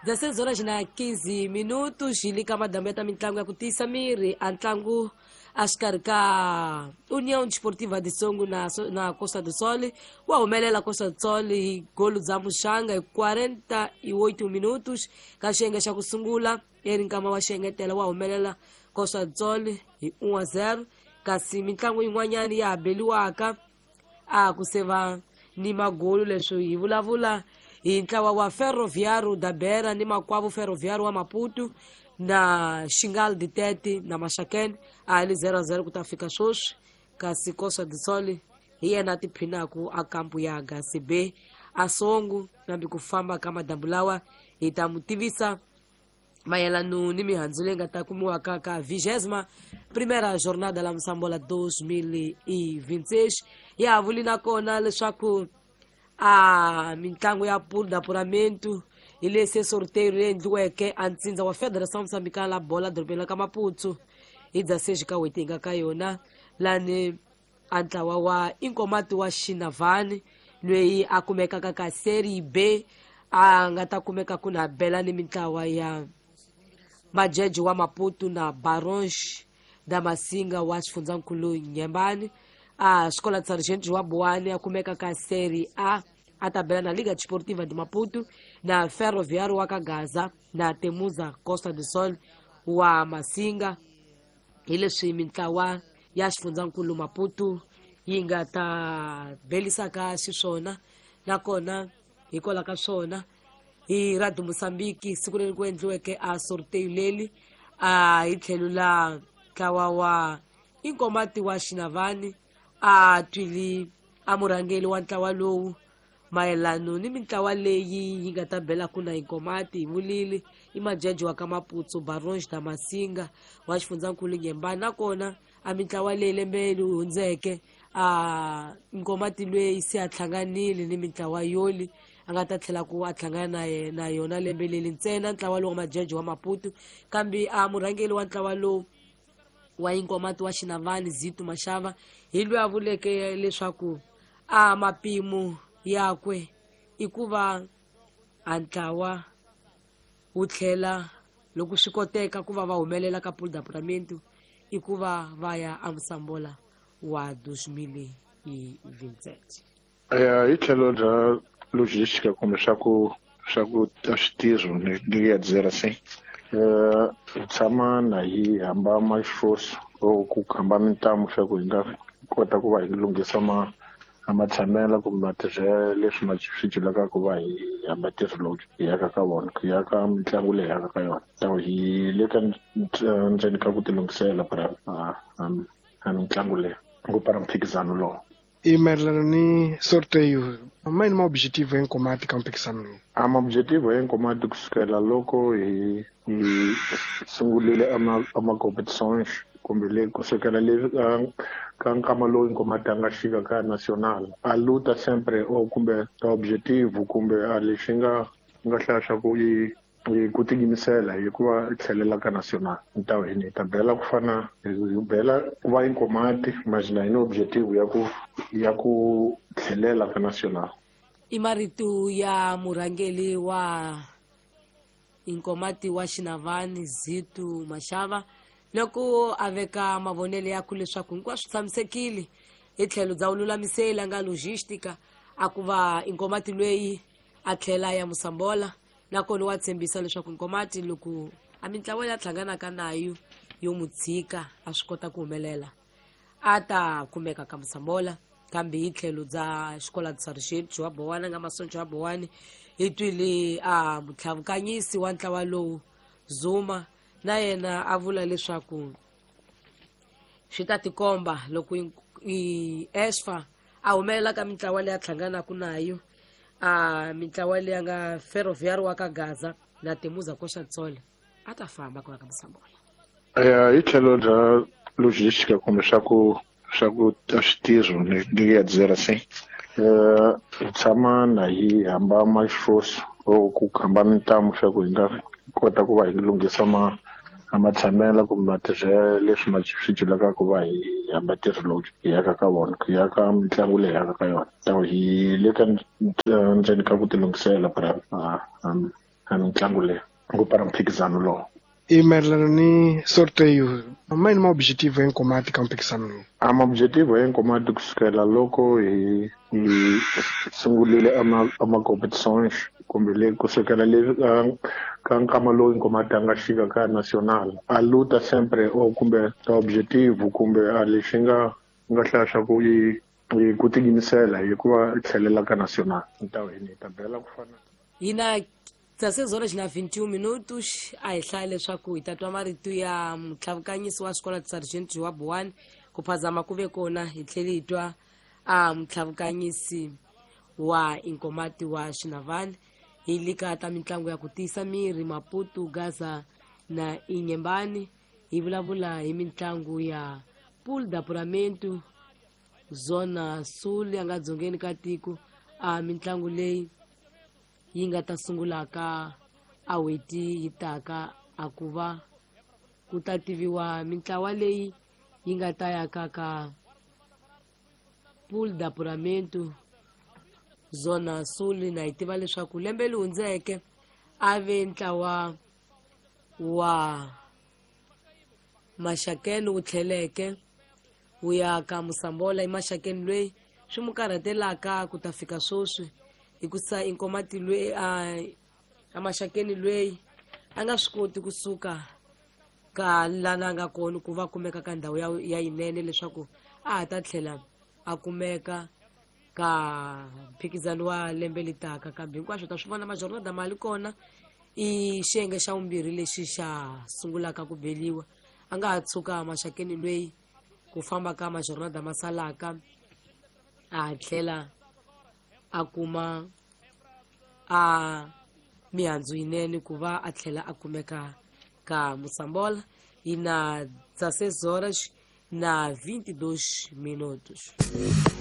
16 horas na 15 minutos hi le ka madambu ya ta mitlangu ya ku tiyisa miri a ntlangu a xikarhi ka União Desportiva de Songo na Costa do Sol wa humelela Costa do Sol hi golo bya muxanga hi 48 minutos ka xiyenge xa ku sungula eri nkama wa xiengetela wa humelela Costa do Sol hi 1-0. Kasi mitlangu yin'wanyana ya ha beliwaka a ku se va ni magolo. Leswi hi vulavula hi ntlawa wa Ferroviário da Beira ni makwavo Ferroviário wa Maputo na Xingal Ditete na Maxakene a li 0-0 ku ta fika sweswi. Kasi Costa do Sol hi yena a tiphinaku a kampu ya HCB a Songo. Nambi ku famba ka madambu lawa hi ta mu tivisa mayelano ni mihandzu leyi nga ta kumiwaka ka 21ª jornada la Moçambola 2026. Ya ha vuli nakona leswaku a mitlangu ya pool d'apuramento hi lesi sorteio leyi endliweke a ntsindza wa Federação Moçambicana la Bola dorobeni la ka Maputo hi 16 ka n'hweti hi nga ka yona, lani a ntlawa wa Inkomati wa Xinavani loyi a kumekaka ka Serie B a nga ta kumeka ku na bela ni mintlawa ya Majeje wa Maputo na Barões da Masinga wa xifundzankulu Nyembani. A Escola de Sargento wa Boane a kumeka ka Serie A a ta bela na Liga Desportiva de Maputo na Ferroviário wa ka Gaza na Temuza Costa do Sol wa Masinga. Hi leswi mintlawa ya xifundzankulu Maputo yi nga ta belisaka xiswona. Nakona hikwalaho ka swona hi Radio Mozambique siku leri ku endliweke a sorteio leli a hi tlhelo la ntlawa wa Inkomati wa Xinavani a twili a murhangeri wa ntlawa lowu mayelano ni mintlawa leyi yi nga ta belaku na Inkomati. Hi vulile i Majeje wa ka Maputo, Barões da Masinga wa xifundzankulu Nyembani. Nakona a mintlawa leyi lembe leri hundzeke a Inkomati loyi se a hlanganile ni mintlawa yoli a nga ta tlhela ku a hlangana na yona lembe leri ntsena ntlawa lowu wa Majeje wa Maputo. Kambe a murhangeri wa ntlawa lowu wa Inkomati wa Xinavani Zitu Mashava hi loyi a vuleke leswaku a mapimo yakwe i ku va a ntlawa wu tlhela loko swi koteka ku va va humelela ka pool d'apuramento i ku va va ya a Moçambola wa 2027. Hi tlhelo bya logística kumbe swa ku switirho ni ya dizer assim, hi tshama na hi hamba maxifosi or ku hamba mintamu swa ku hi nga kota ku va hi lunghisa ma a matshamelo kumbe matirhelo leswi swi julaka ku va hi hamba ntirho lowu hi yaka ka vona ku ya ka mitlangu leyi yaka ka yona. So hi le ka ndzeni ka ku tilunghisela para a mitlangu leyi ku para mphikizano lowu. I mayelana ni sorteio mayini ma objetivo ya Nkomati ka mphikizano lowu? A ma objetivo ya Nkomati kusukela loko hi sungurile ama competitions kumbe le kusukela le ka nkama lowu Nkomati a nga xika ka national a luta sempre o kumbe objetivo kumbe a lexi nga hlaya swa ku i ku tiyimisela hi ku va tlhelela ka national. Ta hi ta bela ku fana hi bela ku va Inkomati mas na hi ni objetivo ya ku tlhelela ka national. I marito ya murhangeri wa Inkomati wa Xinavani Zitu Mashava loko a veka mavonelo yakwe leswaku hinkwaswo tshamisekile hi tlhelo bya vululamiseli a nga logística a ku va Inkomati loyi a tlhela ya Moçambola. Nakona wa tshembisa leswaku Nkomati loko a mintlawa ya hlanganaka nayo yo mu tshika a swi kota ku humelela a ta kumeka ka Moçambola. Kambe hi tlhelo bya xikola Sargent wa Bowana nga Masoncho wa Bowani hi twile a mutlhavukanyisi wa ntlawa lowu Zuma na yena a vula leswaku swi ta tikomba loko i esfa a humelela ka mintlawa leyi a hlanganaka nayo a mintlawa leyi a nga Ferroviário wa ka Gaza na Temuza Koxatsole a ta famba ku ya ka Moçambola. Hi tlhelo bya logística kumbe swa ku switirho ni ya dizer assim, hi tshama na hi hamba maxifosi or ku hamba mintamu swa ku hi nga kota ku va hi lunghisa ma a matshamelo kumbe matirhelo leswi swi julaka ku va hi hamba ntirho lowu hi yaka ka vona ku ya ka mitlangu leyi yaka ka yona. So hi le ka ndzeni ka ku tilunghisela para a a mitlangu leyi ku para mphikizano lowu. I mayelana ni sorteio, mayini ma objetivo ya Nkomati ka mphikizano lowu? A ma objetivo ya Nkomati kusukela loko hi sungulile ama competitions kumbe le kusukela le ka nkama lowu Nkomati a nga xika ka national a luta sempre o kumbe objetivo kumbe a lexi nga hlaya swa ku i ku tiyimisela hikuva tlhelela ka national ntawini hi ta bela ku fana hina 16 horas na 21 minutos. A hi hlaya leswaku hi ta twa marito ya mutlhavukanyisi wa xikolo Sergeant wa Buwani ku phazama ku ve kona hi tlhele hi twa a mutlhavukanyisi wa Inkomati wa Xinavani hi lika ta mitlangu ya ku tiyisa miri Maputo, Gaza na Inyembani. Hi vulavula hi mitlangu ya Pool d'Apuramento Zona Sul ya nga dzongeni ka tiko. A mitlangu leyi yi nga ta sungulaka a weti yi taka a ku va ku ta tiviwa mintlawa leyi yi nga ta ya ka ka Pool d'Apuramento Zona Sul. Na hi tiva leswaku lembe leri hundzeke a ve ntlawa wa Maxakeni wu tlheleke wu ya ka Musambola. I Maxakeni loyi swi mu karhatelaka ku ta fika sweswi hikusa Inkomati loyi a Maxakeni loyi a nga swi koti kusuka ka lana a nga kona ku va kumeka ka ndhawu ya yinene leswaku a ha ta tlhela a kumeka ka mphikizano wa lembe litaka. Kambe hinkwaswo ta swi vona majornada mali kona i xiyenge xa vumbirhi lexi xa sungulaka ku beliwa. A nga ha tshuka Maxakeni loyi ku famba ka majornada ma salaka a tlhela a kuma a mihandzu yinene ku va a tlhela a kumeka ka Musambola. Hi na 16 horas na 22 minutos.